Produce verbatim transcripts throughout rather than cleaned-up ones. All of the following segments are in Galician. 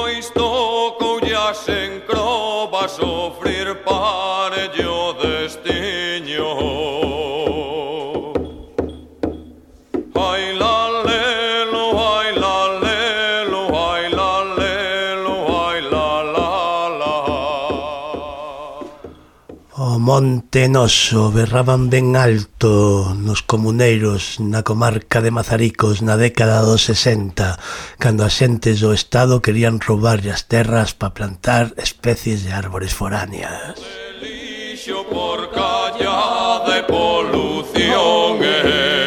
pois tocoulle as encrobas sofrir parello destiño. Ai la lelo, ai la lelo, ai la lelo, ai la la la. O Monte Noso berraban ben alto nos comuneiros na comarca de Mazaricos na década dos sesenta, cando as xentes do Estado querían roubarlle as terras para plantar especies de árbores foráneas. Lixo por callada e polución, eh.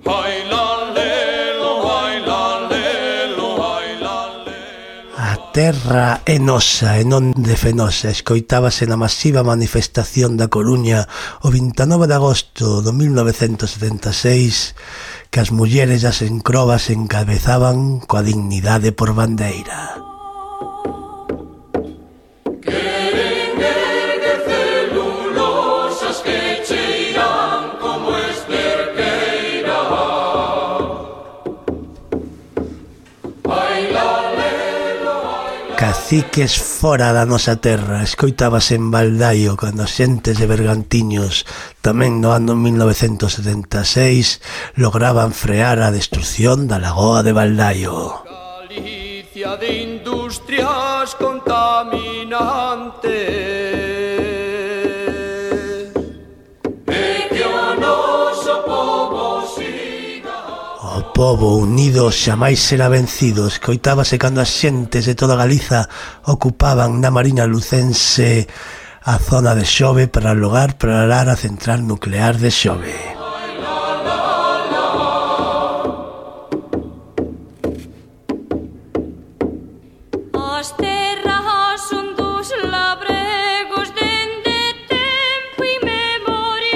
Ai la lelo, ai la lelo, ai la lelo. A terra é nosa e non de Fenosa, escoitábase na masiva manifestación da Coruña o vinte e nove de agosto do mil novecentos setenta e seis, que as mulleres das encrobas encabezaban coa dignidade por bandeira. Queren erguer celulosas que cheiran como esterqueira. Ai la lelo, ai la. Caciques fora da nosa terra, escoitábase en Baldaio cando as xentes de Bergantiños, tamén no ano mil novecentos setenta e seis, lograban frear a destrucción da lagoa de Baldaio. Galicia de industrias contaminantes. E que o noso pobo siga. O pobo unido xamais será vencido, escoitábase cando as xentes de toda Galiza ocupaban na Mariña Lucense a zona de Xove para logar para a central nuclear de Xove. As terras son dos labregos dende tempo inmemoriales.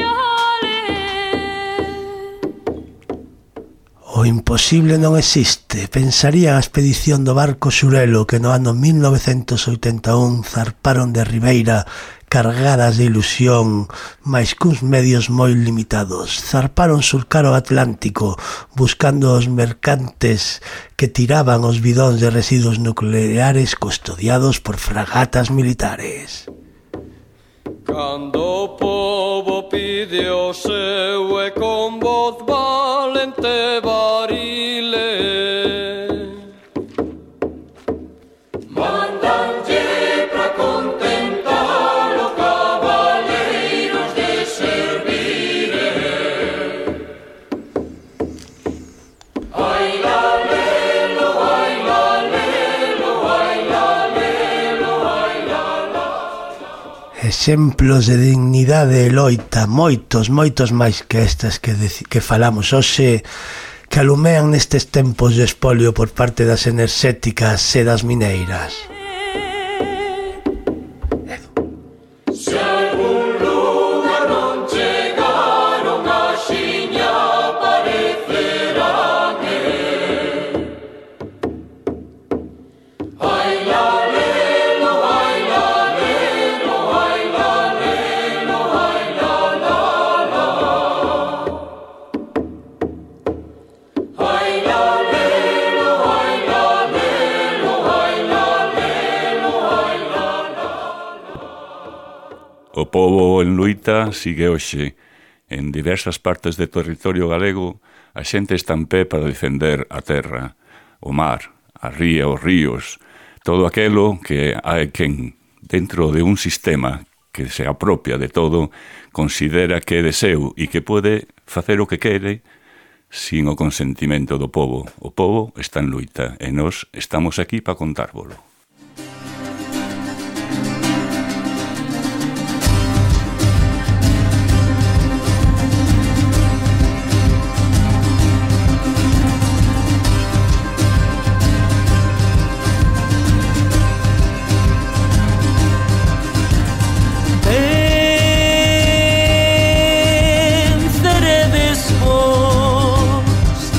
O imposible non existe, pensaría a expedición do barco Xurelo que no ano mil novecentos oitenta e un zarparon de Ribeira cargadas de ilusión, mais cuns medios moi limitados. Zarparon surcar o Atlántico buscando os mercantes que tiraban os bidóns de residuos nucleares custodiados por fragatas militares. Cando o povo pide o seu e con voz valente barile, mandanlle pra contentar os cabaleiros de servire. Ai la lelo, ai la lelo, ai la lelo, ai la la. Exemplos de dignidade e loita, moitos, moitos máis que estas que, que falamos hoxe, que alumean nestes tempos de espolio por parte das enerxéticas e das mineiras. Se algún lugar non chegaron axiña aparecerán, eh. Ai la lelo, ai la lelo, ai la lelo, ai la la la. Ai la lelo, ai la lelo, ai la lelo, ai la la. O pobo en luita sigue hoxe. En diversas partes do territorio galego, a xente está en pé para defender a terra, o mar, a ría, os ríos, todo aquelo que hai quen, dentro de un sistema que se apropia de todo, considera que é de seu e que pode facer o que quere sin o consentimento do pobo. O pobo está en luita e nós estamos aquí para contárvolo. Venceredes vos,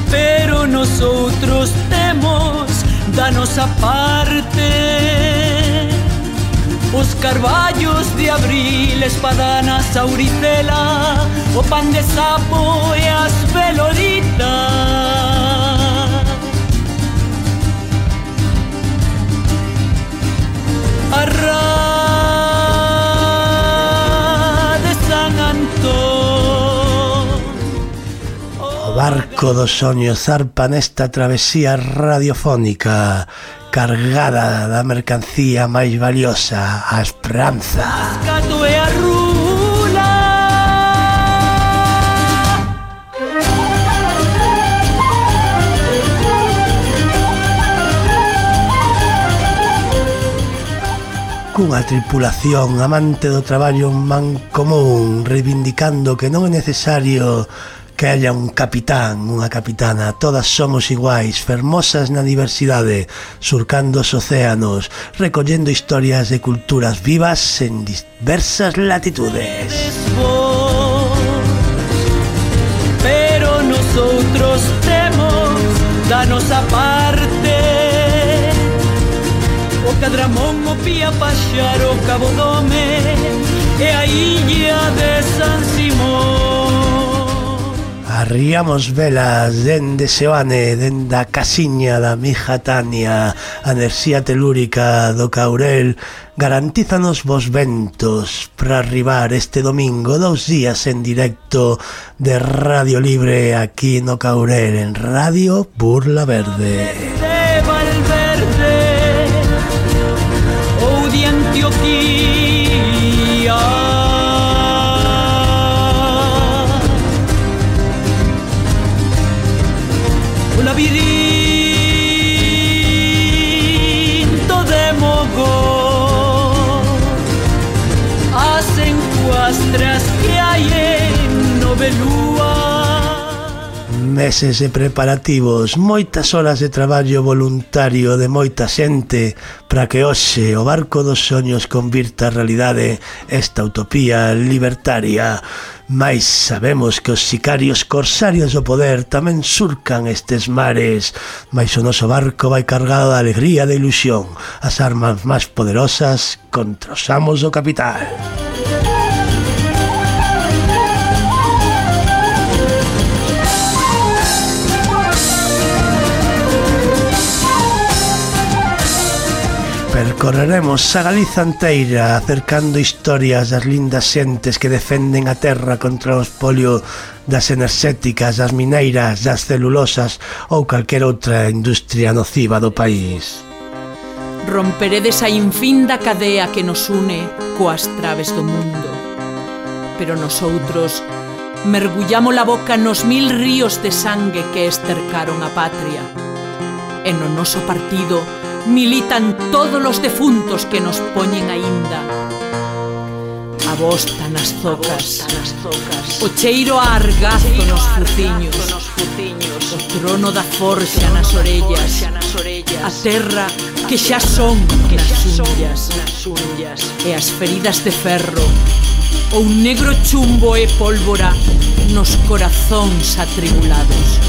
pero nosotros temos da nosa parte os carballos de abril, espadanas, auricela, o pan de sapo e as veloritas. barco dos soños zarpa nesta travesía radiofónica cargada da mercancía máis valiosa, a esperanza. Gato e a rula. Cunha tripulación amante do traballo mancomún, reivindicando que non é necesario que haya un capitán, unha capitana, todas somos iguais, fermosas na diversidade, surcando os océanos, recollendo historias de culturas vivas en diversas latitudes. Pero nosotros temos da nosa parte o Cadramón, o Pía Paxaro, o Cabo Dome e a illa de San Simón. Arriamos velas dende Seoane, dende a casiña da mija Tania, a enerxía telúrica do Caurel garantízanos vos ventos para arribar este domingo dous días en directo de Radio Libre aquí no Caurel, en Radio Burla Verde. De Valverde ou de Antioquía, o labirinto de Mogó, as encuastras que hai en Novelúa. Meses de preparativos, moitas horas de traballo voluntario de moita xente para que hoxe o barco dos soños convirta a realidade esta utopía libertaria. Mais sabemos que os sicarios corsarios do poder tamén surcan estes mares, mais o noso barco vai cargado de alegría e de ilusión, as armas máis poderosas contra os amos do capital. Percorreremos a Galiza inteira acercando historias das lindas xentes que defenden a terra contra o espolio das enerxéticas, das mineiras, das celulosas ou calquera outra industria nociva do país. Romperedes a infinda cadea que nos une coas traves do mundo, pero nosoutros mergullamos a boca nos mil ríos de sangue que estercaron a patria. E no noso partido militan todos os defuntos que nos poñen aínda. A bosta nas zocas, o cheiro a argazo nos fuciños, o trono da forxa nas orellas, a terra que xa son nas unllas, e as feridas de ferro, o un negro chumbo e pólvora nos corazóns atribulados.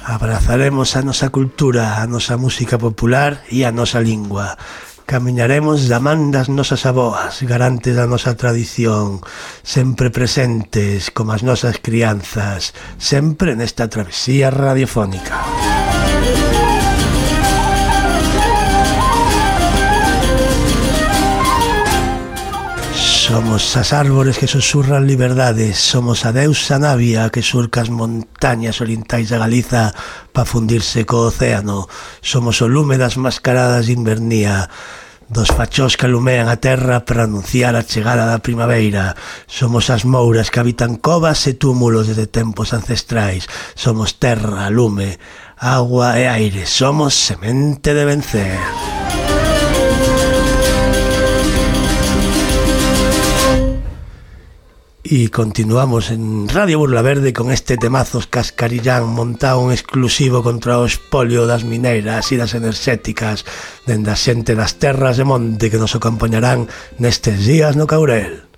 Abrazaremos a nosa cultura, a nosa música popular e a nosa lingua. Camiñaremos da man das nosas aboas, garantes da nosa tradición, sempre presentes como as nosas crianzas, sempre nesta travesía radiofónica. Somos as árbores que susurran liberdades, somos a deusa Navia que surca as montañas orientais da Galiza para fundirse co océano, somos o lume das mascaradas de invernía, dos fachós que alumean a terra para anunciar a chegada da primavera, somos as mouras que habitan covas e túmulos desde tempos ancestrais, somos terra, lume, agua e aire, somos semente de vencer. E continuamos en Radio Burla Verde con este temazos Cascarillán montado un exclusivo contra o espolio das mineiras e das enerxéticas dende a xente das terras de monte que nos acompañarán nestes días no Caurel.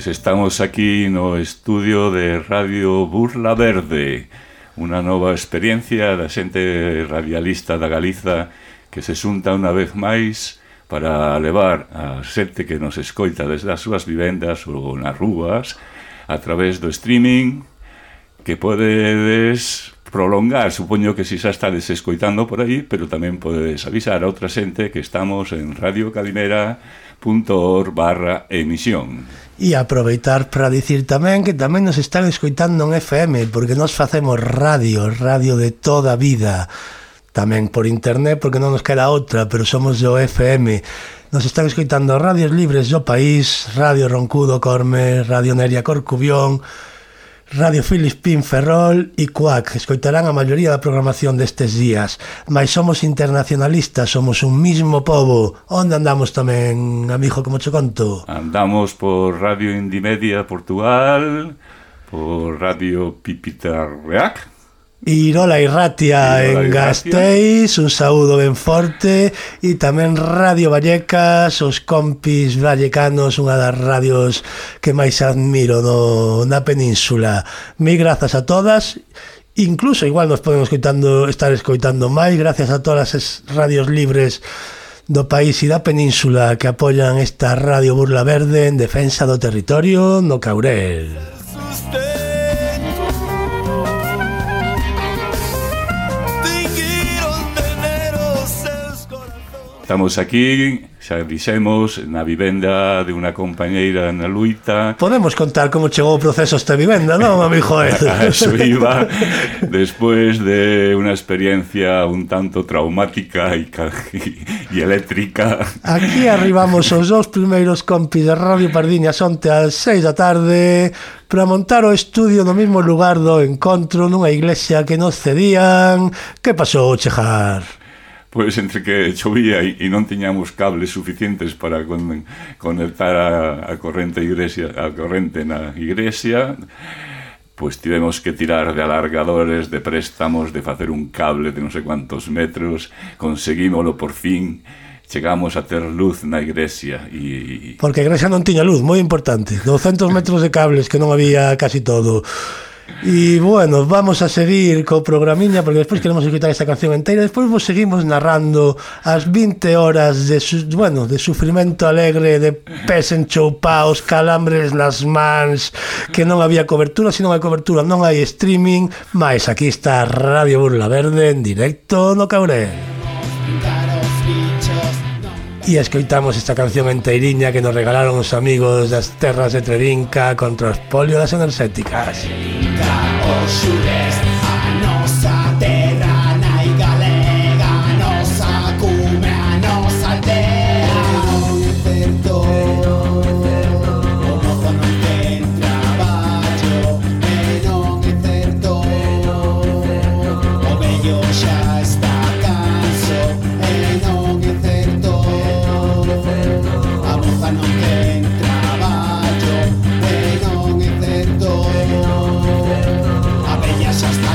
Pois estamos aquí no estudio de Radio Burla Verde, unha nova experiencia da xente radialista da Galiza que se xunta unha vez máis para levar a xente que nos escoita desde as súas vivendas ou nas rúas a través do streaming, que podedes prolongar, supoño que si xa estades escoitando por aí, pero tamén podedes avisar a outra xente que estamos en radio calimera punto org barra emisión. E aproveitar para dicir tamén que tamén nos están escoitando en F M, porque nos facemos radio, radio de toda a vida, tamén por internet, porque non nos queda outra, pero somos do F M. Nos están escoitando radios libres do país, Radio Roncudo Corme, Radio Neria Corcubión, Radio Filispín Ferrol e Cuac. Escoitarán a maioría da programación destes días. Mais somos internacionalistas, somos un mismo pobo. Onde andamos tamén, amigo, como che conto? Andamos por Radio Indimedia Portugal, por Radio Pipitarreac, Irola e Ratia en Gasteiz, un saúdo ben forte, e tamén Radio Vallecas, os compis vallecanos, unha das radios que máis admiro no, na península. Mil grazas a todas, incluso igual nos podemos escoitando, estar escoitando máis, gracias a todas as radios libres do país e da península que apoian esta Radio Burla Verde en defensa do territorio no Caurel. Estamos aquí, xa dixemos, na vivenda de unha compañeira na Luita. Podemos contar como chegou o proceso esta vivenda, non, amigo? A eso iba, despois de unha experiencia un tanto traumática e, e eléctrica. Aquí arribamos os dous primeiros compis de Radio Pardiñas onte ás seis da tarde para montar o estudio no mesmo lugar do encontro nunha iglesia que nos cedían. Que pasou, chejar? Pois entre que chovía e non tiñamos cables suficientes para con, conectar a, a corrente iglesia, a corrente na iglesia, pois tivemos que tirar de alargadores, de préstamos, de facer un cable de non sei cuantos metros, conseguímolo por fin, chegamos a ter luz na iglesia. E... Porque a iglesia non tiña luz, moi importante, douscentos metros de cables que non había casi todo. E bueno, vamos a seguir co programiña, porque despois queremos escutar esta canción inteira. Despois vos seguimos narrando as vinte horas de, su, bueno, de sufrimento alegre, de pés enchoupaos, calambres nas mans, que non había cobertura. Se non hai cobertura non hai streaming, mais aquí está Radio Burla Verde en directo no Caurel. E escoitamos esta canción enteiriña que nos regalaron os amigos das terras de Trerinca contra os polio das enerxéticas. Os xures, a nosa terra nai galega, a nosa cume, a nosa aldea. Non é certo, o mozo non ten traballo, e non é certo, o vello xa está canso, e non é certo, a moza non ten traballo, e non é certo, a bella xa está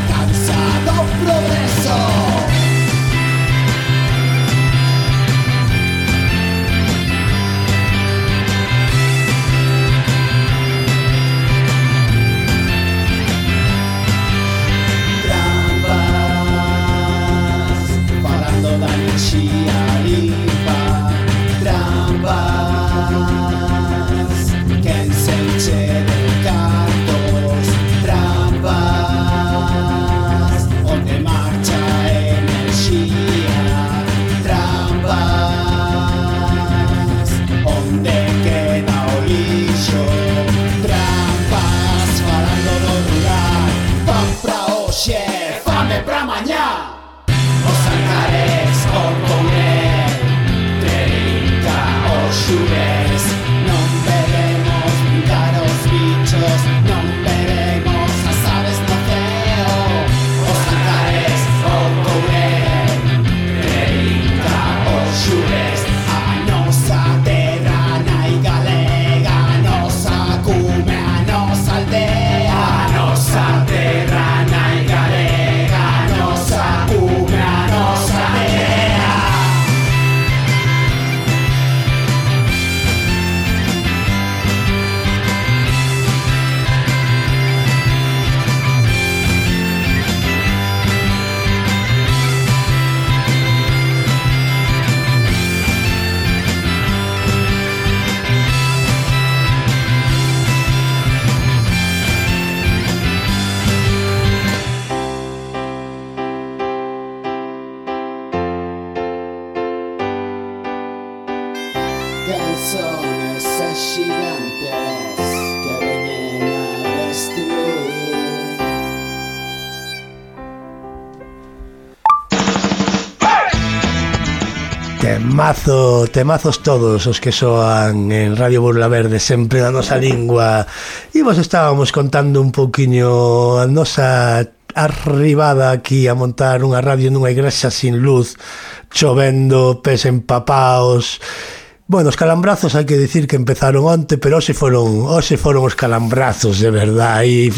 quen son eses xigantes que veñen a destruir. Temazo, temazos todos os que soan en Radio Burla Verde, sempre na nosa lingua. E vos estábamos contando un pouquiño a nosa arribada aquí a montar unha radio nunha igrexa sin luz, chovendo, pés empapaos. Bueno, os calambrazos hai que dicir que empezaron onte, pero hoxe foron, hoxe foron os calambrazos de verdade.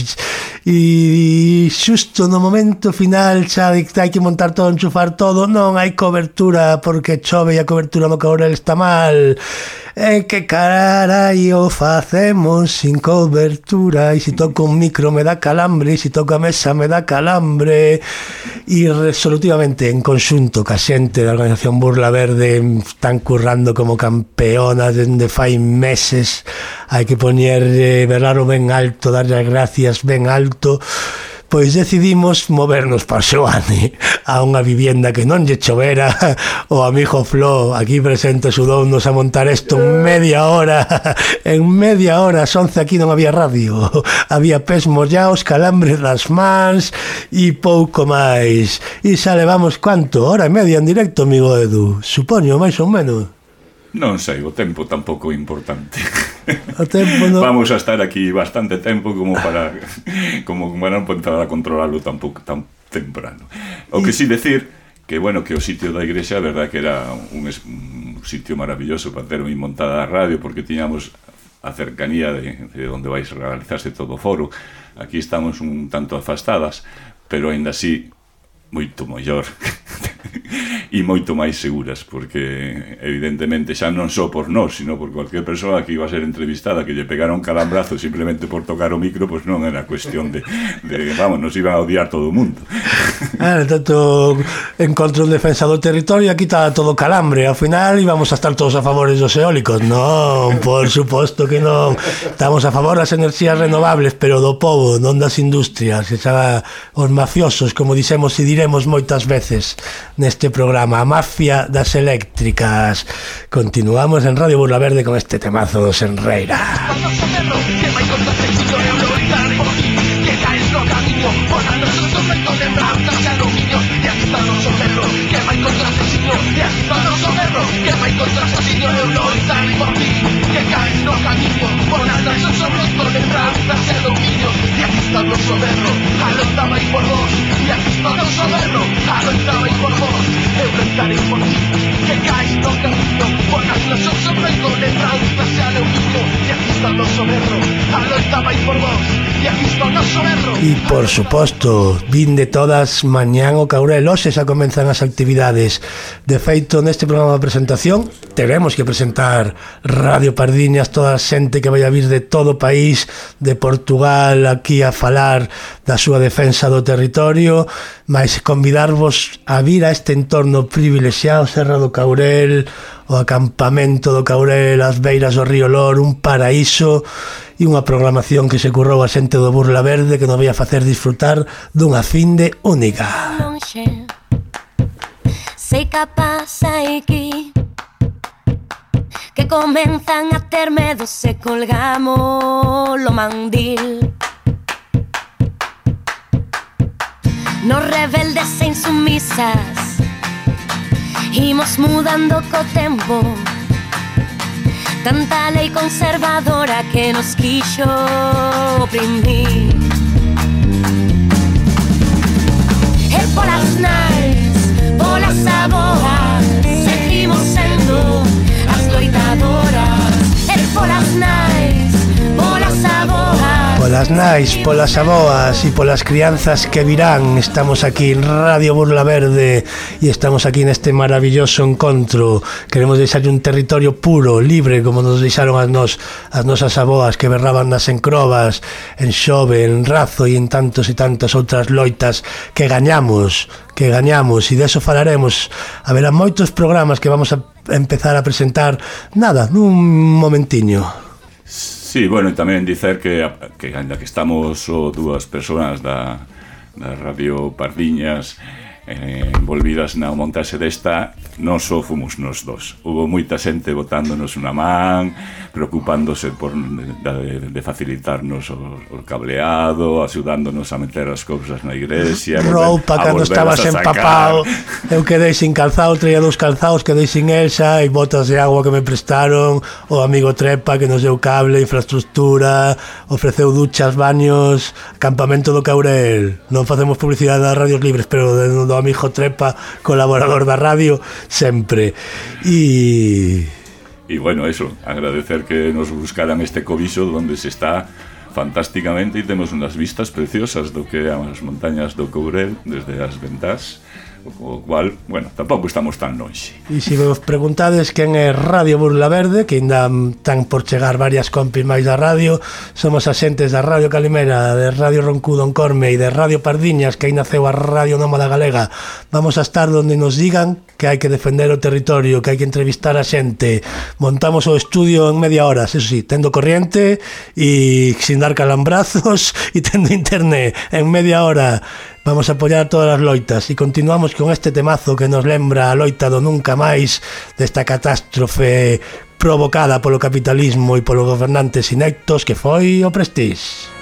E, e xusto no momento final xa hai que montar todo, enchufar todo, non hai cobertura porque chove e a cobertura no Caurel está mal. E que carallo facemos sin cobertura? E se toco un micro me dá calambre, e se toco a mesa me dá calambre. E resolutivamente en conxunto ca xente da organización Burla Verde están currando como campeonas dende fai meses. Hai que poñer eh, veralo ben alto, darlle as gracias ben alto. Pois decidimos movernos para Xoane, a unha vivienda que non lle chovera. O amigo Flo, aquí presente, axudounos a montar isto en media hora. En media hora, as once aquí non había radio. Había pés mollaos, calambres das mans e pouco máis. E xa levamos, cuánto? Hora e media en directo, amigo Edu. Supoño, máis ou menos. Non sei, o tempo tampouco é importante. O tempo no... Vamos a estar aquí bastante tempo como para como para non empezar a controlarlo tampouco tan temprano. O que sí decir que, bueno, que o sitio da igrexa, a verdad que era un, un sitio maravilloso para ter moi montada a radio, porque tiñamos a cercanía de, de onde vais a realizarse todo o foro. Aquí estamos un tanto afastadas, pero aínda así moito mellor e moito máis seguras, porque evidentemente xa non só por nós, sino por cualquier persoa que iba a ser entrevistada que lle pegara un calambrazo simplemente por tocar o micro, pois non era cuestión de, de vamos, nos iban a odiar todo o mundo. Ah, tanto encontro en defensa do territorio, aquí está todo calambre, ao final íbamos a estar todos a favor dos eólicos. Non, por suposto que non. Estamos a favor das enerxías renovables, pero do povo, non das industrias, que xa os mafiosos, como dixemos e diremos moitas veces neste programa, a mafia das eléctricas. Continuamos en Radio Burla Verde con este temazo do Senreira. E por suposto, vin de todas mañán o Caurel, hoxe xa comenzan as actividades. De feito, neste programa de presentación teremos que presentar Radio Pardiñas, toda a xente que vai a vir de todo o país, de Portugal, aquí a falar da súa defensa do territorio, mais convidarvos a vir a este entorno privilexiado, Serra do Caurel, o acampamento do Caurel, as beiras do río Lor, un paraíso, e unha programación que se currou a xente do Burla Verde que nos vai a facer disfrutar dunha finde única. Sei capaz aquí que comenzan a ter medo se colgamos lo mandil. Nos rebeldes e insumisas imos mudando co tempo. Tanta lei conservadora que nos quixo oprimir. E polas nais, polas aboas, seguimos sendo as loitadoras. E polas nais, polas aboas, Polas nais, polas aboas e polas crianzas que virán, estamos aquí en Radio Burla Verde e estamos aquí neste maravilloso encontro. Queremos deixarlle un territorio puro, libre, como nos deixaron as, nos, as nosas aboas que berraban nas encrobas, en Xove, en Razo e en tantos e tantas outras loitas que gañamos, que gañamos, e deso falaremos. Haberá moitos programas que vamos a empezar a presentar, nada, nun momentiño. Sí, bueno, e tamén dicer que, que ainda que estamos o dúas persoas da, da Radio Pardiñas, eh, envolvidas na montaxe desta, non só fomos nos dos. Hubo moita xente botándonos unha man, preocupándose por de, de facilitarnos o, o cableado, axudándonos a meter as cousas na igrexa, roupa cando estabas empapado. Eu quedei sin calzado, traía dous calzados, quedei sin esa, e botas de agua que me prestaron, o amigo Trepa que nos deu cable, infraestructura, ofreceu duchas, baños, campamento do Caurel. Non facemos publicidade das radios libres, pero do amigo Trepa, colaborador da radio, sempre. E... E bueno, eso, agradecer que nos buscaran este cobiso donde se está fantásticamente e temos unhas vistas preciosas do que é as montañas do Courel desde as ventás, o cual, bueno, tampouco estamos tan longe. E se vos preguntades quen é Radio Burla Verde, que ainda tan por chegar varias compis máis da radio, somos asentes da Radio Calimera, de Radio Roncudo en Corme e de Radio Pardiñas, que aí naceu a Radio Nómada Galega. Vamos a estar donde nos digan que hai que defender o territorio, que hai que entrevistar a xente. Montamos o estudio en media hora, eso sí, tendo corriente e sin dar calambrazos e tendo internet en media hora. Vamos a apoiar todas as loitas e continuamos con este temazo que nos lembra a loita do nunca máis, desta catástrofe provocada polo capitalismo e polos gobernantes ineptos que foi o Prestige.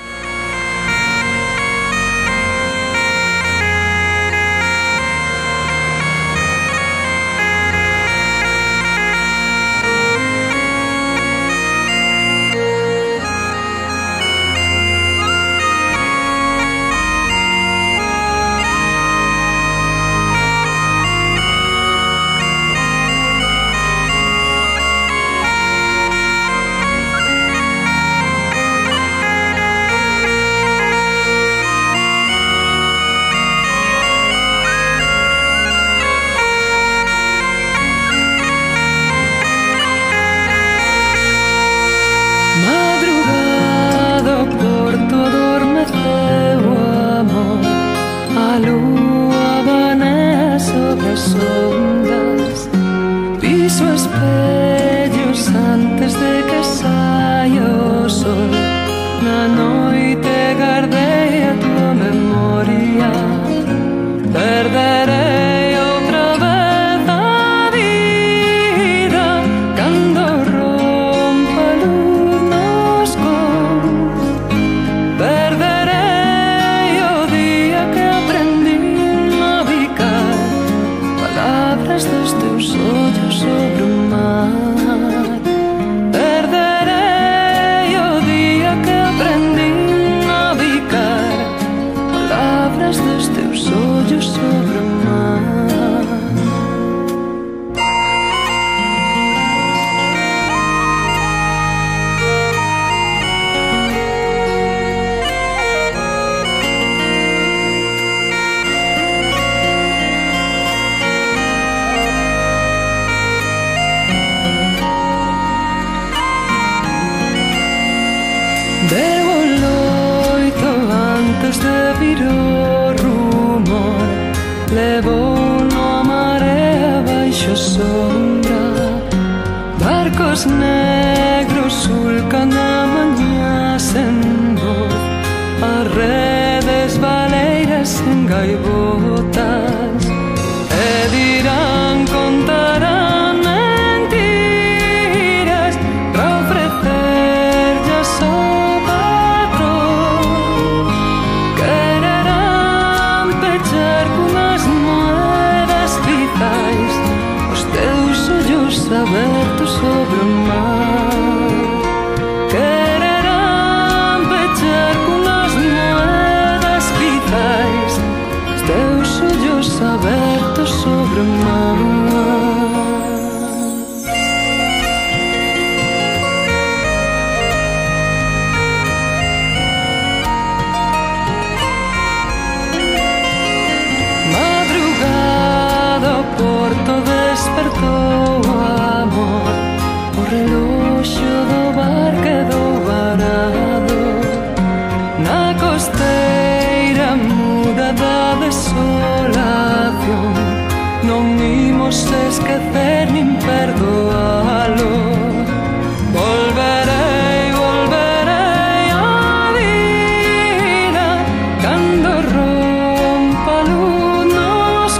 Cando rompa a luz nos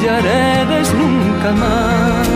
humillaredes nunca más.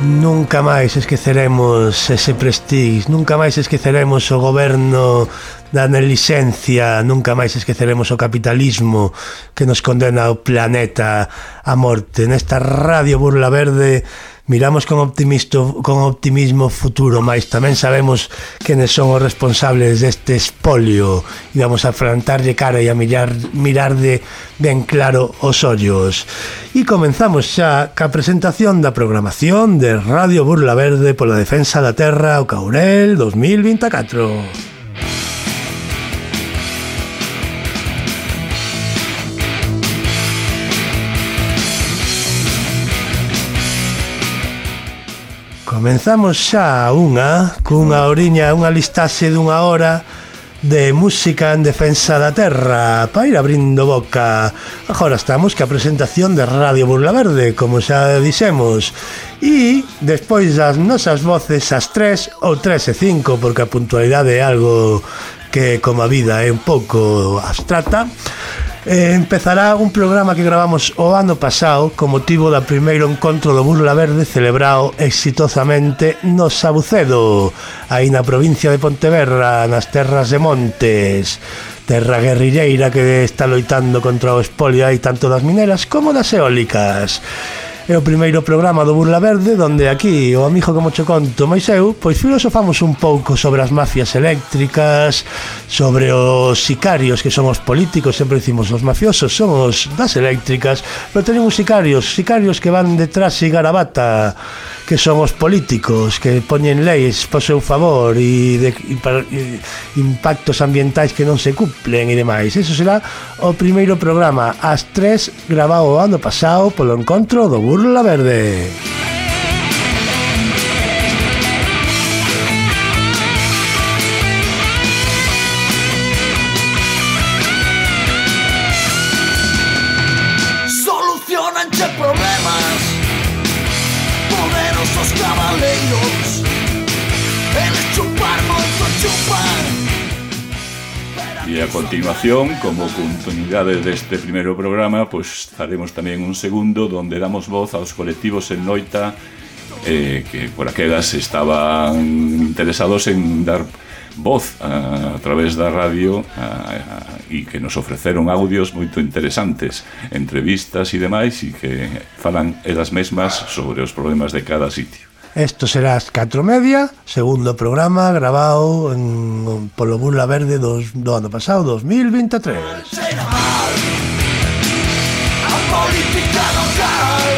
Nunca máis esqueceremos ese prestige, nunca máis esqueceremos o goberno da negligencia, nunca máis esqueceremos o capitalismo que nos condena ao planeta a morte. Nesta Radio Burla Verde miramos con optimismo, con optimismo futuro, mas tamén sabemos quenes son os responsables deste espolio e vamos a afrontarlle cara e a mirar, mirar de ben claro os ollos. E comenzamos xa ca presentación da programación de Radio Burla Verde pola defensa da terra ao Caurel dos mil vinte e catro. Comenzamos xa unha, cunha oriña, unha listaxe dunha hora de música en defensa da terra para ir abrindo boca. Agora estamos ca presentación de Radio Burla Verde, como xa dixemos, e despois das nosas voces as tres ou tres e cinco, porque a puntualidade é algo que, como a vida, é un pouco abstrata. Eh, empezará un programa que gravamos o ano pasado con motivo da primeiro encontro do Burla Verde celebrado exitosamente no Sabucedo, aí na provincia de Pontevedra, nas terras de Montes, terra guerrilleira que está loitando contra o espolio aí tanto das mineras como das eólicas. É o primeiro programa do Burla Verde donde aquí o amigo como cho conto máis eu, pois filosofamos un pouco sobre as mafias eléctricas, sobre os sicarios que son os políticos, sempre dicimos os mafiosos son os das eléctricas, pero tenemos sicarios, sicarios que van detrás e garabata, que son os políticos que poñen leis por seu favor e, de, e, para, e impactos ambientais que non se cumplen e demais. Eso será o primeiro programa ás tres, grabado o ano pasado polo encontro do Burla Verde. Solucionanche problemas, poderosos cabaleiros, eles chupar moito chupan. E a continuación, como continuidade deste primeiro programa, pois faremos tamén un segundo donde damos voz aos colectivos en Noita eh, que por aquelas estaban interesados en dar voz a, a través da radio a, a, e que nos ofreceron audios moito interesantes, entrevistas e demais, e que falan elas mesmas sobre os problemas de cada sitio. Esto será as catro e media, segundo programa grabado en, polo Burla Verde dos, do ano pasado, dos mil vinte e tres. Cheira mal a política local,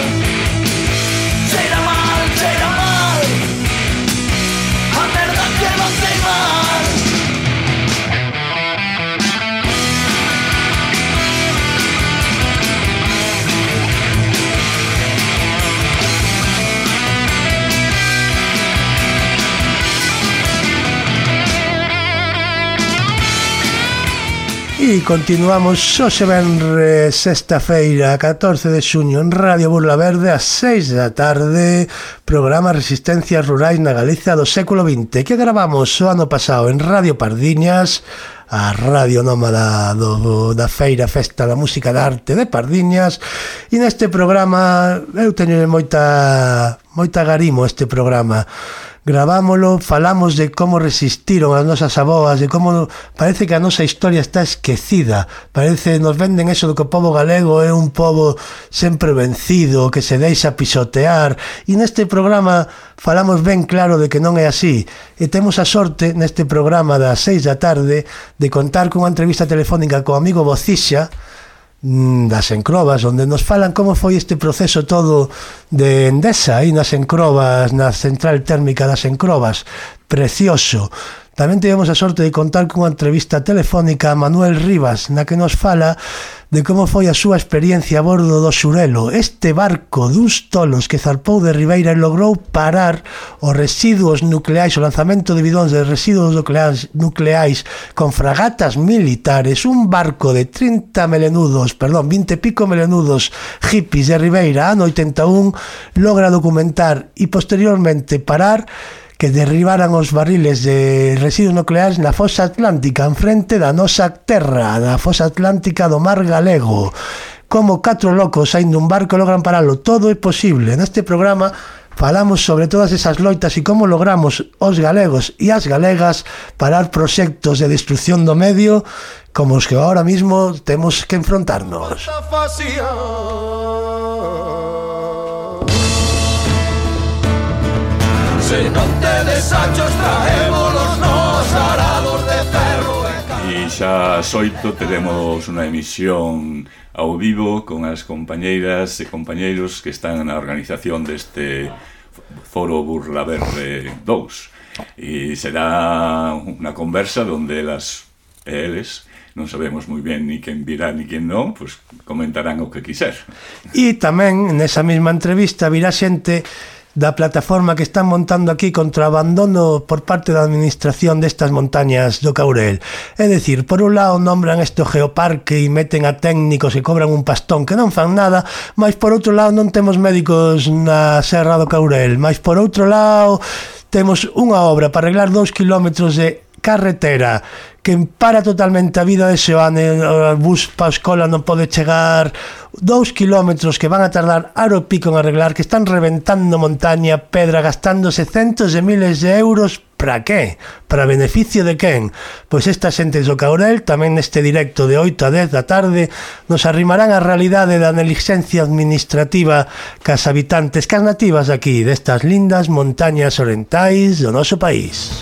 cheira mal, cheira mal a merda que non sei mal. E continuamos hoxe venre sexta feira, catorce de xuño, en Radio Burla Verde ás seis da tarde, programa Resistencias Rurais na Galicia do século vinte, que gravamos o ano pasado en Radio Pardiñas, a radio nómada do, da Feira Festa da Música da Arte de Pardiñas, e neste programa eu teño moita moita garimo este programa. gravámolo, falamos de como resistiron as nosas aboas, de como parece que a nosa historia está esquecida, parece, nos venden eso de que o pobo galego é un pobo sempre vencido, que se deixa pisotear, e neste programa falamos ben claro de que non é así, e temos a sorte neste programa das seis da tarde de contar con unha entrevista telefónica co amigo Bocixa das Encrobas, onde nos falan como foi este proceso todo de Endesa aí nas Encrobas, na central térmica das Encrobas, precioso. Tamén tivemos a sorte de contar con unha entrevista telefónica a Manuel Rivas, na que nos fala de como foi a súa experiencia a bordo do Xurelo, este barco duns tolos que zarpou de Ribeira e logrou parar os residuos nucleais, o lanzamento de bidóns de residuos nucleais, nucleais con fragatas militares, un barco de trinta melenudos, perdón, vinte e pico melenudos hippies de Ribeira, ano oitenta e un, logra documentar e posteriormente parar que derribaran os barriles de residuos nucleares na fosa atlántica en frente da nosa terra, da fosa atlántica do mar galego. Como catro locos saindo un barco logran paralo, todo é posible. Neste programa falamos sobre todas esas loitas e como logramos os galegos e as galegas parar proxectos de destrucción do medio como os que ahora mismo temos que enfrontarnos. Se non tedes achos, traémolos nos arados de ferro e E xa ás oito teremos unha emisión ao vivo con as compañeiras e compañeiros que están na organización deste Foro Burla Verde dous. E será unha conversa onde elas e eles, non sabemos moi ben ni quen virá ni quen non, pois comentarán o que quiser. E tamén nesa mesma entrevista virá xente da plataforma que están montando aquí contra o abandono por parte da administración destas montañas do Caurel. É dicir, por un lado nombran este geoparque e meten a técnicos e cobran un pastón que non fan nada, mas por outro lado non temos médicos na Serra do Caurel, mas por outro lado temos unha obra para arreglar dous kilómetros de carretera que para totalmente a vida de Seoane, o bus para a escola non pode chegar, dous kilómetros que van a tardar aro pico en arreglar, que están reventando montaña, pedra, gastándose centos de miles de euros, para qué? Para beneficio de quen? Pois esta xente do Caurel, tamén neste directo de oito a dez da tarde, nos arrimarán a realidade da negligencia administrativa cas habitantes, cas nativas aquí, destas lindas montañas orientais do noso país.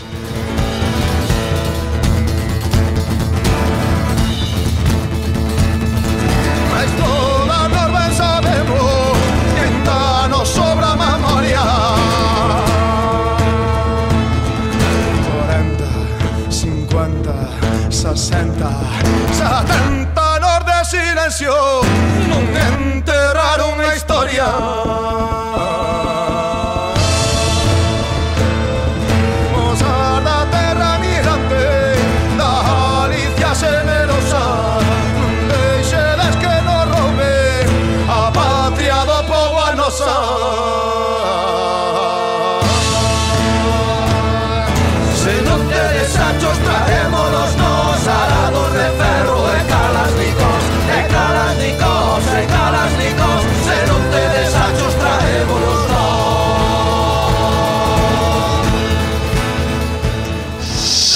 Non enterraron a historia. Mozar da terra migrante, da Galicia generosa, non deixedes que nos roube a patria do povo a nosa. Se non tedes achos, traémolos nos arados de ferro e calasnicos, e calasnicos, e calasnicos. Se non tedes achos, traémolos nós.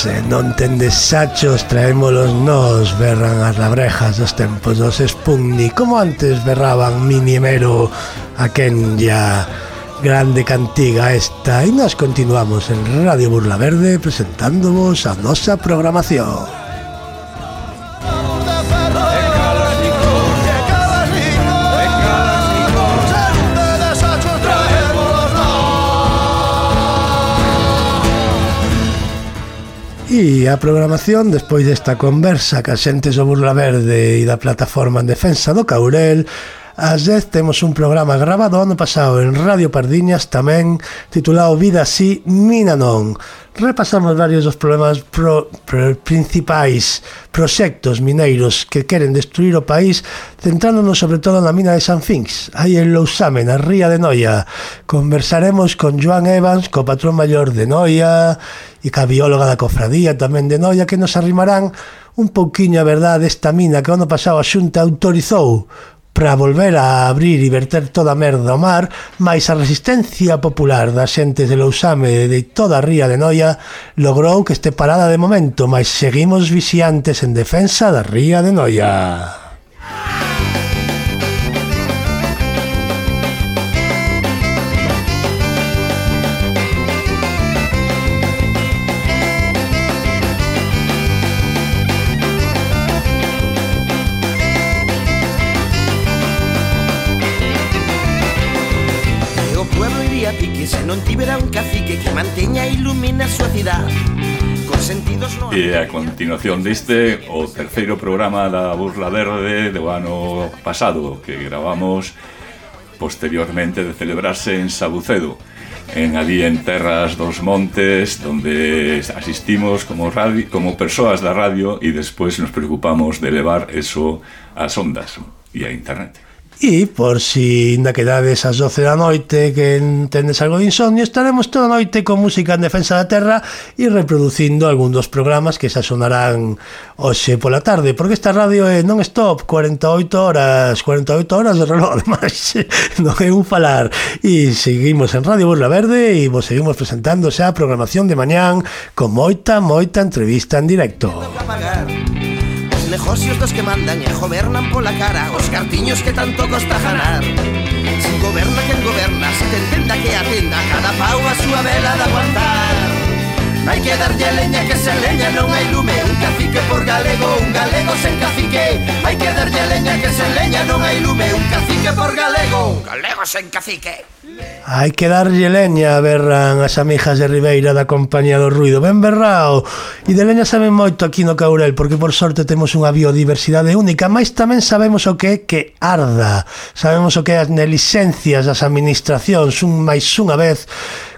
Se non tendes sachos, traémolos nós, berran as labrejas dos tempos dos Sputnik, como antes berraban Mini Mero a Kenya. Grande cantiga esta, e nós continuamos en Radio Burla Verde presentándovos a nosa programación. E a programación, despois desta conversa ca xentes do Burla Verde e da plataforma en defensa do Caurel, ás dez temos un programa grabado ano pasado en Radio Pardiñas, tamén titulado Vida así, mina non. Repasamos varios dos problemas pro, pro, principais proxectos mineiros que queren destruir o país, centrándonos sobre todo na mina de San Finx, aí en Lousame, na ría de Noia. Conversaremos con Joan Evans, co patrón maior de Noia, e ca bióloga da cofradía tamén de Noia, que nos arrimarán un pouquiño a verdade desta mina que o ano pasado a Xunta autorizou para volver a abrir e verter toda a merda ao mar, mais a resistencia popular das xentes de Lousame e de toda a ría de Noia logrou que este parada de momento, mas seguimos vixiantes en defensa da ría de Noia. Se non tivera un cacique que manteña e ilumina a súa cidade con sentidos no... E a continuación deste o terceiro programa da Burla Verde do ano pasado, que gravamos posteriormente de celebrarse en Sabucedo, en ali en Terras dos Montes, donde asistimos como radio, como persoas da radio, e despois nos preocupamos de levar eso ás ondas e a internet. E por si ainda quedades ás doce da noite que tendes algo de insomnio, estaremos toda a noite con música en defensa da terra e reproducindo algún dos programas que xa sonarán hoxe pola tarde, porque esta radio é non-stop, cuarenta e oito horas cuarenta e oito horas de reloj, ademais non é un falar, e seguimos en Radio Burla Verde e vos seguimos presentando xa a programación de mañán con moita, moita entrevista en directo. Negocios dos que mandan e gobernan pola cara, os cartiños que tanto costa ganar. Si goberna quen goberna, se te entenda que atenda cada pau a súa vela de aguantar. Hai que darlle leña que se leña non hai lume, un cacique por galego, un galego sen cacique. Hai que darlle leña que se leña non hai lume, un cacique por galego, un galego sen cacique. Hai que darlle leña, berran as amigas de Ribeira da Compañía do Ruido. Ben berrao. E de leña saben moito aquí no Caurel, porque por sorte temos unha biodiversidade única, mas tamén sabemos o que é que arda. Sabemos o que é as negligencias das administracións, un máis unha vez,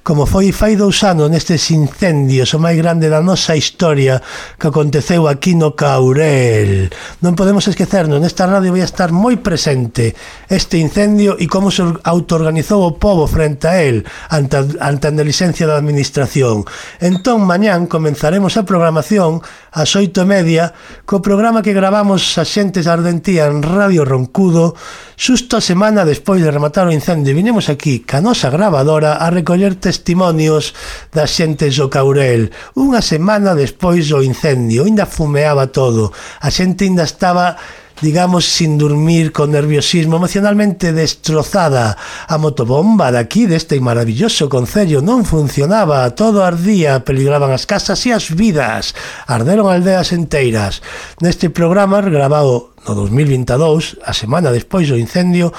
como foi fai dous anos nestes incendios, o máis grande da nosa historia que aconteceu aquí no Caurel. Non podemos esquecernos, nesta radio vai estar moi presente este incendio e como se autoorganizou o povo frente a él ante a, ante a negligencia da administración. Entón, mañán comenzaremos a programación ás oito e media co programa que gravamos as xentes de Ardentía en Radio Roncudo xusto a semana despois de rematar o incendio. Vinemos aquí ca nosa gravadora a recoller testimonios das xentes do Caurel. Unha semana despois do incendio, ainda fumeaba todo, a xente ainda estaba, digamos, sin dormir, con nerviosismo, emocionalmente destrozada. A motobomba daqui, deste maravilloso concello, non funcionaba, todo ardía, peligraban as casas e as vidas, arderon aldeas enteiras. Neste programa, grabado no dos mil vinte e dous, a semana despois do incendio,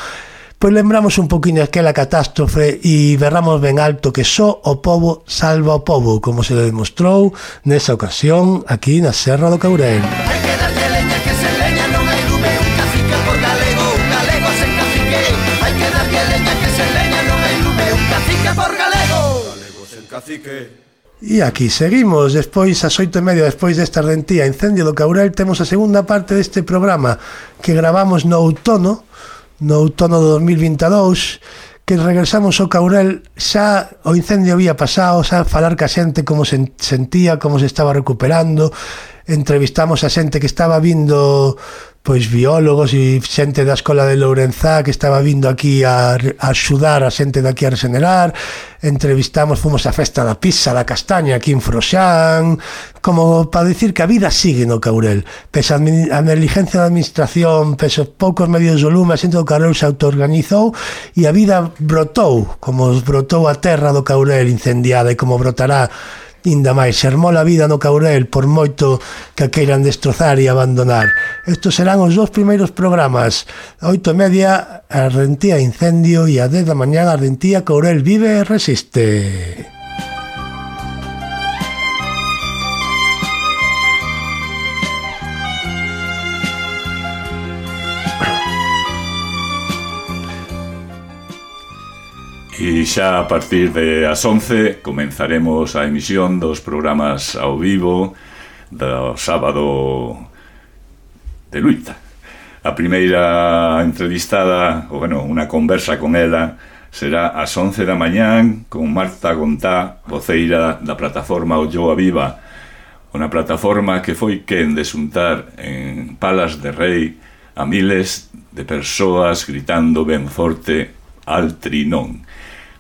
pois lembramos un poquinho aquela catástrofe e berramos ben alto que só o povo salva o povo, como se demostrou nesa ocasión aquí na Serra do Caurel. Hai que darlle leña que se leña non hai lume, un cacique por galego, un galego sen cacique. Hai que darlle leña que se leña non hai lume, un cacique por galego, galego sen cacique. E aquí seguimos, despois, ás oito e media, despois desta ardentía incendio do Caurel, temos a segunda parte deste programa que gravamos no outono, no outono do dos mil vinte e dous, que regresamos ao Caurel, xa o incendio había pasado, xa falar ca xente como se sentía, como se estaba recuperando, entrevistamos a xente que estaba vindo, pois biólogos e xente da Escola de Lourenzá que estaba vindo aquí a, a axudar a xente daqui a regenerar, entrevistamos, fomos á festa da pizza da castaña aquí en Froxán, como para dicir que a vida sigue no Caurel, pese a, a negligencia da administración, pese aos poucos medios do lume, a xente do Caurel se autoorganizou e a vida brotou, como brotou a terra do Caurel incendiada e como brotará inda máis, xermou a vida no Caurel por moito que a queiran destrozar e abandonar. Estos serán os dous primeiros programas, a oito e media Ardentía Incendio e a dez da mañá Ardentía Caurel vive e resiste. E xa a partir de as once comenzaremos a emisión dos programas ao vivo do sábado de Luita. A primeira entrevistada, ou bueno, unha conversa con ela, será ás once da mañán con Marta Gontá, voceira da plataforma Olloa Viva, unha plataforma que foi quen de xuntar en Palas de Rei a miles de persoas gritando ben forte Altri non.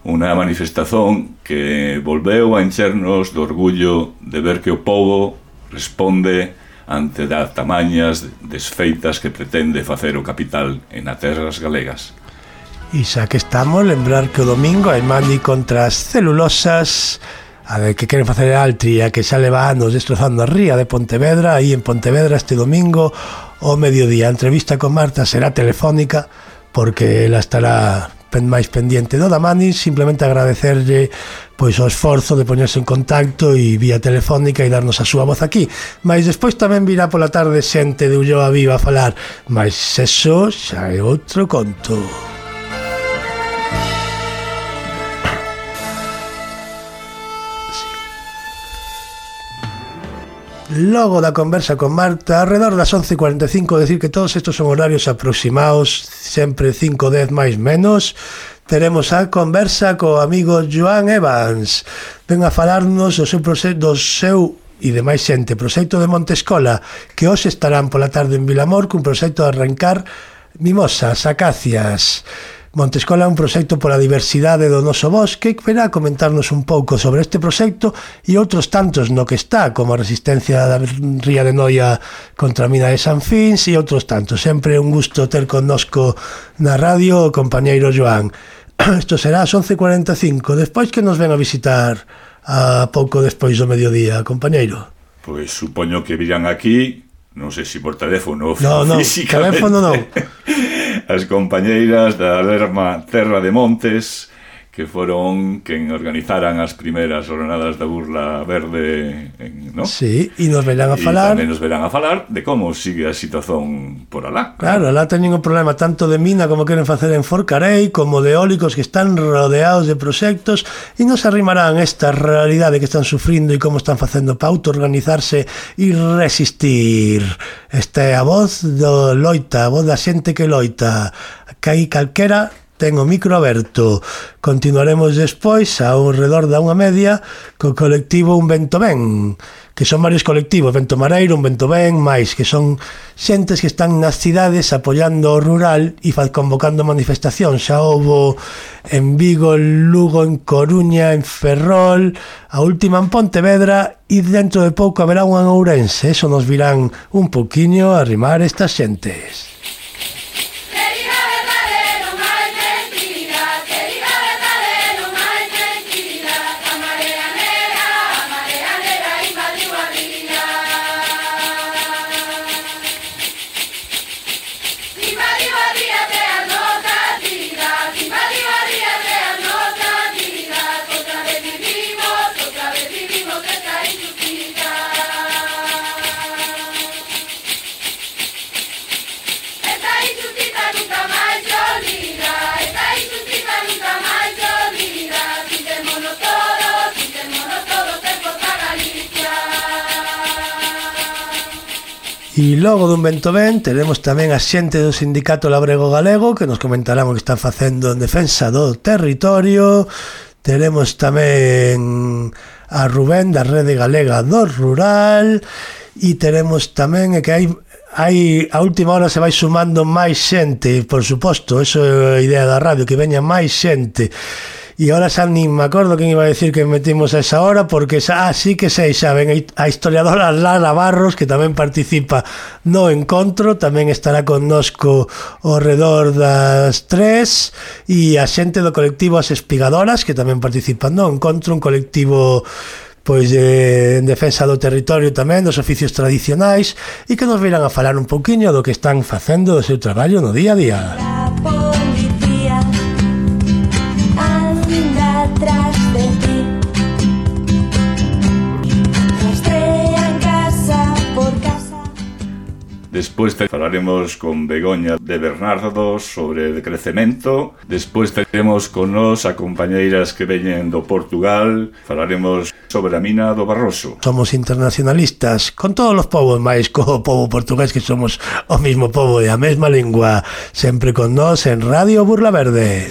Unha manifestación que volveu a enchernos do orgullo de ver que o pobo responde ante das tamañas desfeitas que pretende facer o capital en as terras galegas. E xa que estamos, lembrar que o domingo hai mani contra as celulosas, a ver, que queren facer Altri, a que xa leva anos destrozando a ría de Pontevedra. Aí en Pontevedra este domingo ao mediodía. A entrevista con Marta será telefónica, porque ela estará máis pendiente do Damani. Simplemente agradecerlle pois o esforzo de poñerse en contacto e vía telefónica e darnos a súa voz aquí. Mas despois tamén virá pola tarde xente de Ulloa Viva a falar, mas eso xa é outro conto. Logo da conversa con Marta, alrededor das once e cuarenta e cinco, decir que todos estos son horarios aproximados, sempre cinco dez máis menos, teremos a conversa co amigo Joan Evans. Ven a falarnos do seu proxecto, do seu e de máis xente, proxecto de Montescola, que hoxe estarán pola tarde en Vilamor cun proxecto de arrancar mimosas, acacias. Montescola é un proxecto pola diversidade do noso bosque, que verá comentarnos un pouco sobre este proxecto e outros tantos no que está, como a resistencia da ría de Noia contra a mina de San Fins e outros tantos. Sempre un gusto ter connosco na radio o compañeiro Joan. Isto será ás once e cuarenta e cinco, despois que nos ven a visitar a pouco despois do mediodía, compañeiro. Pois supoño que virán aquí, non sei se por teléfono ou no, no, físicamente. Teléfono non. As compañeiras da Lerma Terra de Montes, que foron quen organizaran as primeiras jornadas da Burla Verde, ¿no? Sí, e nos verán a falar. E tamén nos verán a falar de como sigue a situación por alá. Claro, alá teñen un problema tanto de mina como queren facer en Forcarei, como de eólicos que están rodeados de proxectos, e nos arrimarán esta realidade que están sufrindo e como están facendo para auto-organizarse e resistir. Esta é a voz do loita, a voz da xente que loita. Que hai calquera ten o micro aberto. Continuaremos despois ao redor da unha media co colectivo Un Vento Ben, que son varios colectivos, Vento Mareiro, Un Vento Ben, máis, que son xentes que están nas cidades apoiando o rural e convocando manifestacións. Xa houbo en Vigo, en Lugo, en Coruña, en Ferrol, a última en Pontevedra, e dentro de pouco haberá unha en Ourense. Eso nos virán un poquinho a arrimar estas xentes. E logo dun Vento Ben teremos tamén a xente do Sindicato Labrego Galego, que nos comentarán o que están facendo en defensa do territorio. Teremos tamén a Rubén da Rede Galega do Rural, e teremos tamén que hai hai a última hora se vai sumando máis xente, por suposto, eso é a idea da radio, que veña máis xente. E ahora xa nin me acordo quen iba a decir que metimos a esa hora, porque xa, ah, sí que sei, xa ven a historiadora Lara Barros, que tamén participa no encontro, tamén estará connosco ao redor das tres, e a xente do colectivo As Espigadoras, que tamén participan no encontro, un colectivo pois eh, en defensa do territorio tamén, dos oficios tradicionais, e que nos virán a falar un pouquiño do que están facendo do seu traballo no día a día. Despois falaremos con Begoña de Bernardo sobre decrecemento. Despois teremos con nos a compañeiras que veñen do Portugal. Falaremos sobre a mina do Barroso. Somos internacionalistas con todos os povos, máis co povo portugués, que somos o mismo povo e a mesma lingua. Sempre con nos en Radio Burla Verde.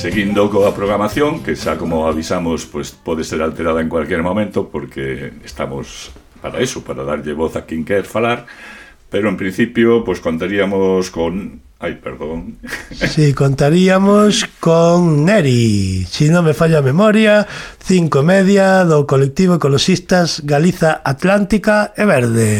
Seguindo coa programación, que xa como avisamos, pues pode ser alterada en cualquier momento, porque estamos para eso, para darlle voz a quen quer falar, pero en principio, pues contaríamos con... Ay, perdón. Sí, contaríamos con Neri, si non me falla a memoria, cinco e media do colectivo Ecoloxistas Galiza Atlántica e Verde.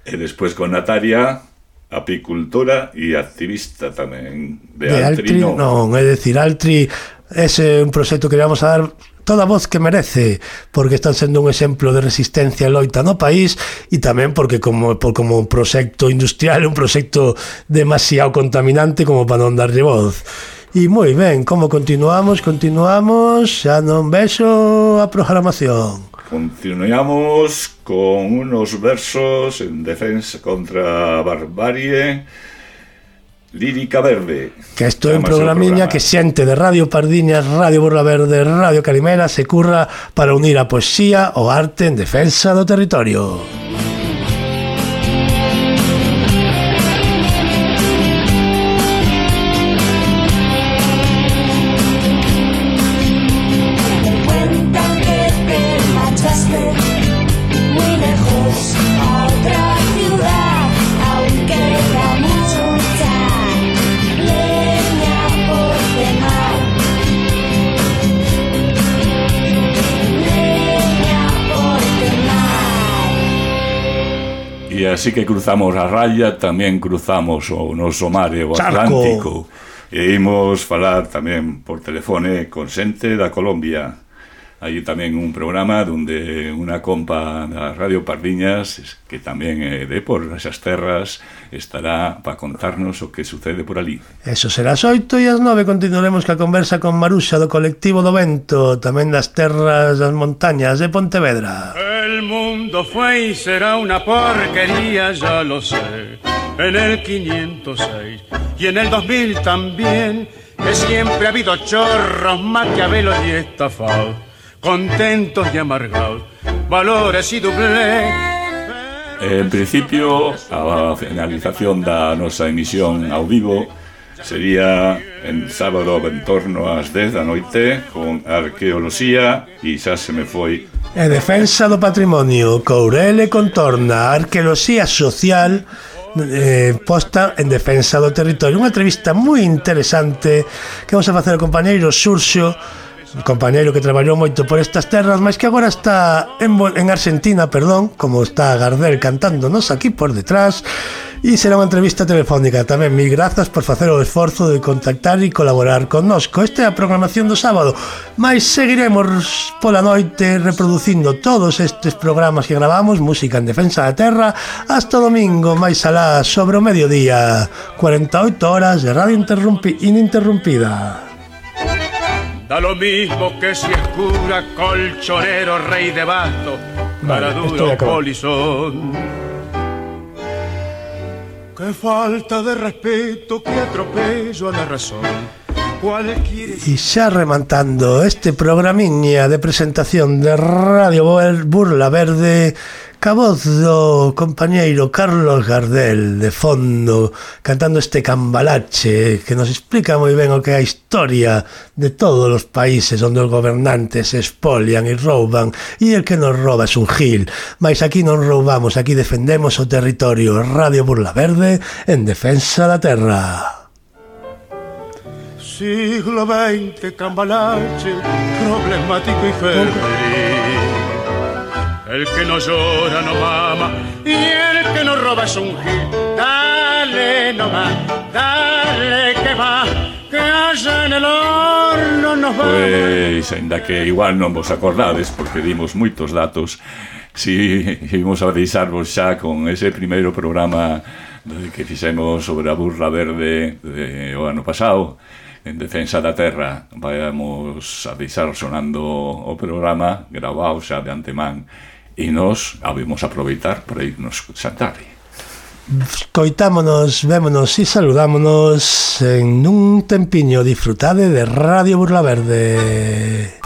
E despois con Natalia, apicultora e activista tamén de, de Altri, Altri, non. non, é dicir, Altri ese é un proxecto que vamos a dar toda a voz que merece, porque están sendo un exemplo de resistencia e loita no país, e tamén porque como, por, como un proxecto industrial, un proxecto demasiado contaminante como para non darlle voz. E moi ben, como continuamos? Continuamos, xa non vexo a programación. Continuamos con unos versos en defensa contra a barbarie. Lírica Verde. Que isto é un programiña programa que xente de Radio Pardiñas, Radio Burla Verde, Radio Calimera se curra para unir a poesía o arte en defensa do territorio. E así que cruzamos a raya, tamén cruzamos o noso mar e o Atlántico. E imos falar tamén por telefone con xente da Colombia. Hai tamén un programa donde unha compa da Radio Pardiñas, que tamén é de por esas terras, estará para contarnos o que sucede por ali. Eso será as oito e as nove continuaremos ca conversa con Maruxa do colectivo do Vento, tamén das terras das montañas de Pontevedra. El mundo fue y será una porquería, ya lo sé, en el quinientos seis y en el dos mil también, que siempre ha habido chorros, maquiavelos y estafados, contentos y amargados, valores y doblez. En principio, a finalización da nosa emisión ao vivo sería en sábado en torno ás dez da noite con arqueoloxía e xa se me foi. E defensa do patrimonio, Courel e Contorna, arqueoloxía social eh, posta en defensa do territorio. Unha entrevista moi interesante que vamos a facer ao compañeiro Xurxo, un compañeiro que traballou moito por estas terras, mas que agora está en, en Argentina, perdón, como está Gardel cantándonos aquí por detrás, e será unha entrevista telefónica. Tamén mil grazas por facer o esforzo de contactar e colaborar connosco. Esta é a programación do sábado, mas seguiremos pola noite reproducindo todos estes programas que gravamos, música en defensa da terra, hasta domingo, máis alá, sobre o mediodía, cuarenta e oito horas de radio ininterrumpida. Da lo mismo que si es cura, colchonero, rey de basto, para vale, duro polizón. Qué falta de respeto, que atropello a la razón. E xa remantando este programiña de presentación de Radio Burla Verde, ca voz do compañeiro Carlos Gardel de fondo, cantando este cambalache que nos explica moi ben o que é a historia de todos os países onde os gobernantes se espolian e rouban, e el que nos rouba es un gil. Mas aquí non roubamos, aquí defendemos o territorio. Radio Burla Verde en defensa da terra. Siglo veinte, cambalache, problemático y febril. El que no llora no mama y el que no roba es un gil. Dale nomás, dale que va, que allá en el horno nos va. Pois, ainda que igual non vos acordades, porque dimos moitos datos, si íbamos a deixarvos xa con ese primeiro programa que fixemos sobre a Burla Verde de, o ano pasado, en defensa da terra. Vamos a deixar sonando o programa grabado xa de antemán e nos habemos aproveitar para irnos xantar. Coitámonos, vémonos e saludámonos en un tempiño. Disfrutade de Radio Burla Verde.